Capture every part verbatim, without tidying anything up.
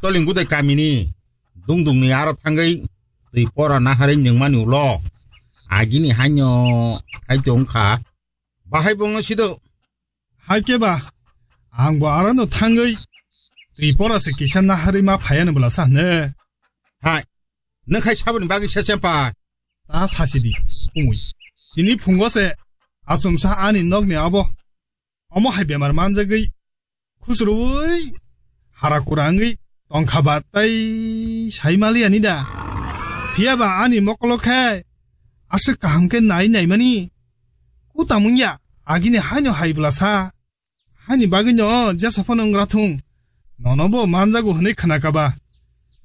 Toling gudai kamini dungdungni aro thangwi twi pora naharwi nungmani ulo agini haino hai tongkha. Bahai bongno sido. Hai khe ba, ang bo aro no thangwi twi pora se kisa naharwi ma phaiya no bwla sa hne. Hai, nung khai saboni bagwi se chempa. Ta sasi di, kumui. Tini phungo se achomsa ani nokni abo. Omo hai bemar manjagwi khusruwi hara kura wngwi tongkha ba tei sai maliya ni da. Phiya ba ani mokolo khe aswk kaham khe nai naimani. Kutam wngya, agini haino hai bwla sa. Hani bagwi no jesa phano wngra thung. Nono bo manjago hwnwi khna kha ba.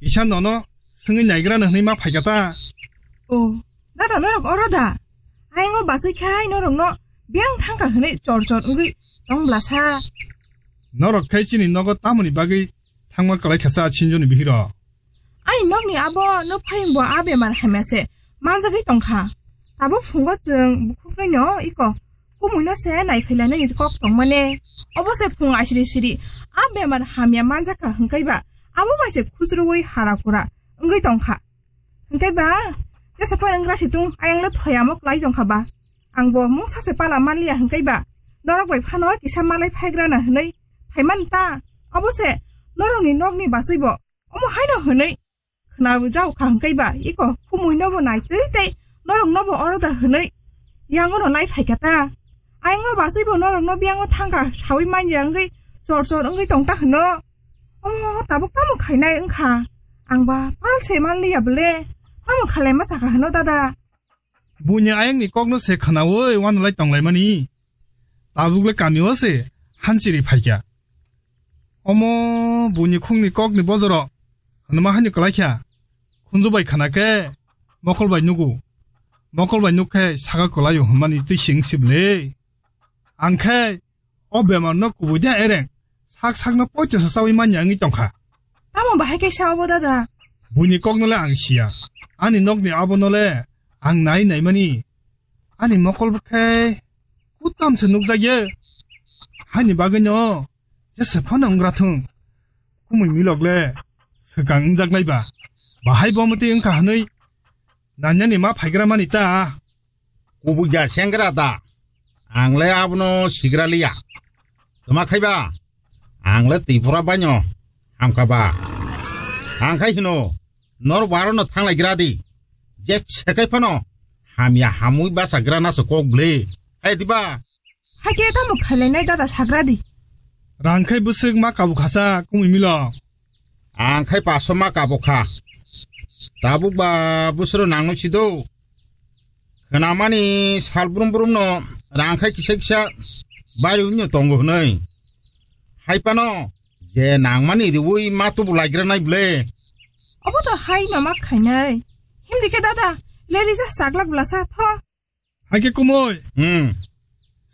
Kisa nono swngwi naigra no hwnwi ma phaikha ta. O, dada norok oro da? Ayang o basai khai norok no biyang thangkha hwnwi chor chor wngwi tong bwla sa. Norok khai chini nogo tamoni bagwi thangma kwlai kha sa Sinjoni bihiro. Ani nokni abo no phayung bo a bemar hamya se manjagwi tongkha. Tabuk phungo chwng bukhuknwi no iko kumui no se naiphailainani kok tongmani. Obo se phung asiri siri a bemar hamya manjakha hwnkhe ba abo bai se khusruwi hara kura wngwi tongkha. Hwnkhe ba jesa phano wngkra situng ayang le thoyamo kwlai tongkha ba. Ang bo mungsa se pala manliya hwnkhe ba norok bai phano kisa malai phaigrana hwnwi phaiman ta. Obo se norokni nokni baswi bo omo haino hwnwi khna jau kha hwnkhe ba iko khumui no bo nai twi tei norok no bo oro da hwnwi yango no nai phaikha ta. Ayang o baswi bo norok no biyango thangkha sawi manya wngwi chor chor wngwi tongta hwno. Omo tabuk tamo khainai wngkha? Ang ba pal se manliya bwle. Tamo khalai ma sakha hwno dada? Buini ayangni kokno se khnaui wanalai tonglaimani. Tabukle kamio se hanchiri phaikha. Omo buini khungni kokni bojoro hwnma haino kwlaikha. Khunju bai khna khe mokol bai nugo. Mokol bai nuk khe saka kwlaio hwnmani twi sing sibwle. Ang khe o bemar no kubui de ereng sak sak no poito sa chawi manya wngwi tongkha. Tamo bahai khe sa obo dada? Buini kok no le ang siya. Ani nok ni abo no le ang nai nai mani. Ani mokol bo khe kutam se nukjak ye. Hani bagwi no jesa phano wnggra thung. Kumui milok le swkang wngjak lai ba. Bahai bo mwtwi wngkha hwnwi nanya ni ma phaigra mani ta. Kubui da sengra da. Ang le abono sigra liya. Tuma khai ba? Ang le Tripura baino hamkha ba. Ang khai hino, nor baro no thanglai gra di. Je sekai phano hamya hamui basa gra na so kok ble. Hai di ba? Hakhe tamo khailai nai dada sagra di. Rang khai bwswk ma kabu khasa kumui milo. Ang khai paso ma kabo kha. Tabuk ba bwswro nangno sido. Khwnamani sal brum brum no rang khai kisa kisa bari unyo tongo hwnwi. Hai pano je nangmani riui ma tubu laigra nai ble. Obo to hai mama khainai. Himdi khe dada, le rija saglak blasa tho. Hai khe kumui. Hmm.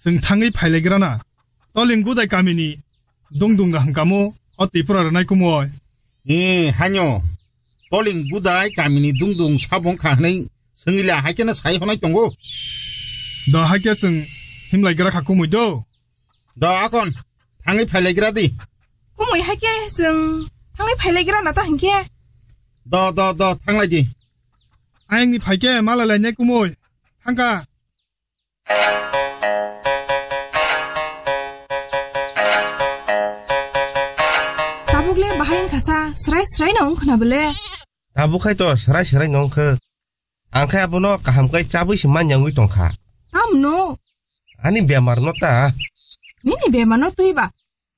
Chwng thangwi phailaigwrana. Toling gudai kamini dungdung da hwnkamo o Tripura rwnai kumui. Hmm, hanyo. Toling gudai kamini dungdung sabong kha hwnwi swngwila hai kheno sai honai tongo. Do hai khe chwng himlaigra kha kumui do. Do akon, thangwi phailaigwra di. Kumui hai khe chwng thangwi phailaigwrana ta hinkhe. Do, do, do, thanglai di. Ayangni phai khe malai lainai kumui. Thangkha. Tabuk le bahai wngkha sa, srai srai no wngkhwna bwle. Tabuk khai to srai srai no wngkha. Ang khai abono kaham khai chabwi se manya wngwi tongkha. Tamno? Ani bemar no ta. Nini bemar no twi ba?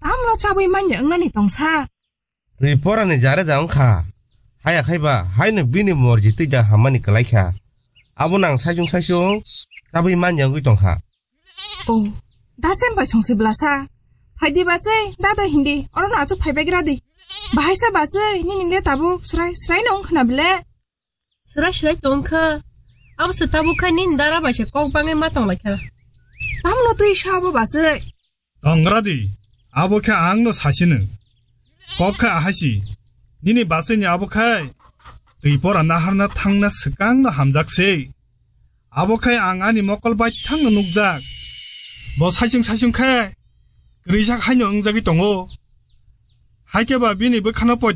Tamno chabwi manya wngnani tongsa? Twi porani jare da wngkha. Haya khai ba, haino bini morji twi da hammani kwlai kha. Abono ang saichung saichung chabwi manya wngwi tongkha. O, da sem bai songsi blasa. Phaidi bachai, dada hindi, orono achuk phaibai gra di. Bahaisa bachai, nini le tabuk srai, srai no wngkhwna bile. Srai srai tongkha. Abo se tabuk khai nini dara bai se kok bangwi ma tonglaikha. Tamno twi sa abo bachai. Tongra di, abo khe ang no sasi nung. Kok khe ahai si, nini bachai ni abo khai twi pora naharna thangna swkang no hamjak se. Abo khai ang ani mokol baithang no nukjak. Bo saichung saichung khe kwrwijak haino wngjagwi tongo. Hai khe ba bini bwkhano poito